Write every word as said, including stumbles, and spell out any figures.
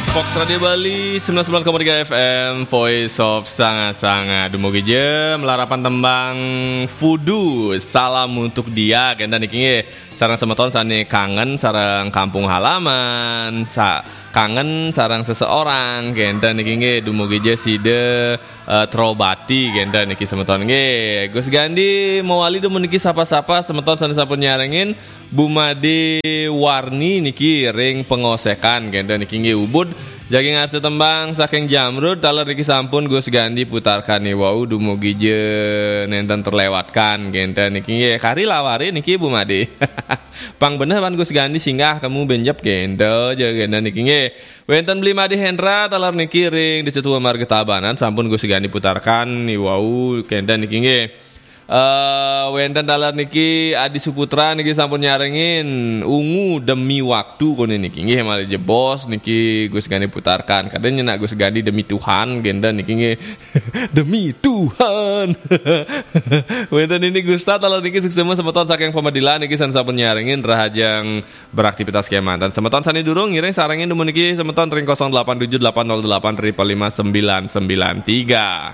Fox Radio Bali sembilan sembilan koma tiga F M, Voice of Sanga-Sanga. Dumugi ja malarapan tembang Fudu, Salam Untuk Dia, kenten niki nggih. Sareng semeton sane kangen sareng kampung halaman, sa kangen sareng seseorang, kenten niki nggih. Dumugi ja sida eh, terobati, kenten niki semeton nggih. Gus Gandhi mawali dumun niki sapa-sapa semeton sane sampun nyarengin. Bu Made Warni niki ring Pengosekan, kenten niki nggih. Ubud jagi ngarsa tembang saking Jamrud, taler niki sampun Gus Gandhi putarkan nih wau, dumugi ja nenten terlewatkan, kenten niki nggih. Kari lawari niki Bu Made. Pang beneh pan Gus Gandhi singgah kamu benjep, kenten ja, kenten niki nggih. Wenten Beli Made Hendra, taler niki ring Desa Tua Marga Tabanan, sampun Gus Gandhi putarkan nih wau, kenten niki nggih. Eh, wenten taler niki Adi Suputra niki sampun nyarengin Ungu Demi Waktu kone niki nggih, malih jebos niki Gus Gandhi putarkan. Kadang nyenak Gus Gandhi Demi Tuhan, kenten niki nggih. Demi Tuhan. Wenten ini Gusta, taler niki suksema semeton saking Pemedilan niki sane sampun nyarengin, rahajeng beraktivitas kemanten. Semeton sane durung ngiring sarengin dumun niki semeton ring kosong delapan tujuh delapan nol delapan triple lima sembilan sembilan tiga.